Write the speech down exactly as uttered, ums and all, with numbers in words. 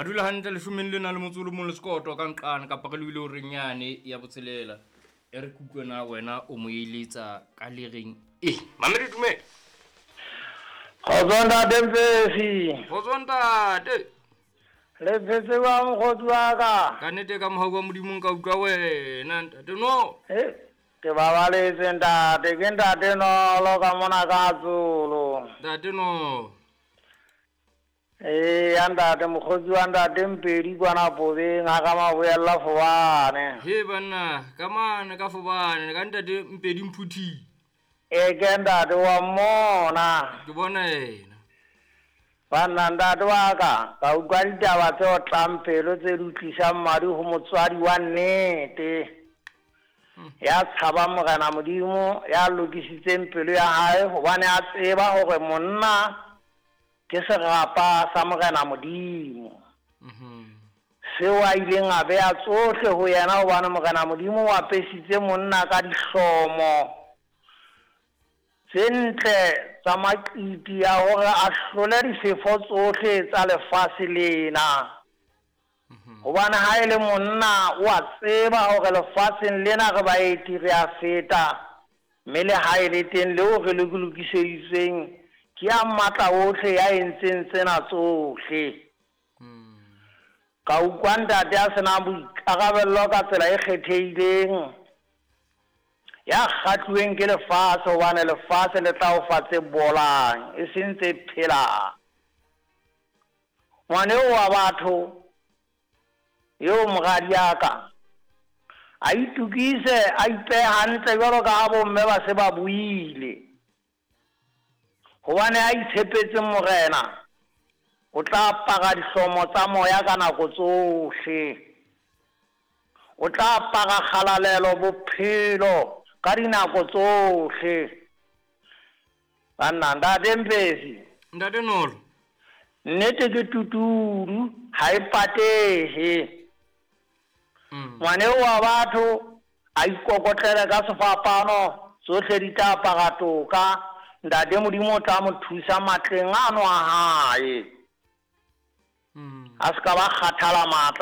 Re dula hantle leshomeng lena le motso o le mong le sekoto ka nqane kapa re lebile horeng yane ya botshelela. E re ke utlwe na wena o mo eletsa ka le reng e. Mamedi dumela. Kgotso ntate Mfefi. Kgotso ntate. Le phetse jwang mokgotsi wa ka? Ka nnete ka mohau wa Modimo nka utlwa wena ntate no. Eh, ke babaletse ntate, ke ntate Nolo ka mona ka Tsolo. Ntate no. Eh, ya ntate mokgotsi wa ntate Mpedi kwana Pobeng ha ka maboella Fobane. He banna, ka mane ka Fobane, ka ntate Mpedi Mphuthi. E ke ntate wa mmona. Ke bona yena. Banna ntate wa ka, ka utlwa ditaba tse otlang pelo tse di utlisang madi ho motswadi wa nnete. Ya tshabang Morena Modimo, ya lokisitseng pelo ya hae hobane a tseba hore monna ke serapa sa Morena Modimo. Seo a ileng a beha tsohle ho yena hobane Morena Modimo o apesitse monna ka dihlomo tse ntle tsa maqiti a hore a hlole difefo tsohle tsa lefatshe lena. Hobane ha e le monna o a tseba hore lefatsheng lena re baeti re a feta, mme le ha e le teng leo re le lokiseditsweng ke ya matla ohle ya entseng tsena tsohle. Ka utlwa ntate a senang boikarabello ka tsela e kgethehileng, ya kgatluweng ke lefatshe hobane lefatshe le tla o fa tse bolang e seng tse phelang. Ngwana eo wa batho eo moradi ya ka a itukise, a ipehe hantle jwalo ka ha bomme ba se ba buile, hobane a itshepetse Morena o tla apara dihlomo tsa moya ka nako tsohle. O tla apara kgalalelo bophelo ka dinako tsohle. Banna ntate Mfefi. Ntate Nolo. Nnete ke tutudu ha e patehe. Ngwana eo wa batho a ikokotlele ka sefapano, tsohle di tla apara toka. Ntate Modimo o tla mo thusa matleng ano a hae. A se ka ba kgathala matla.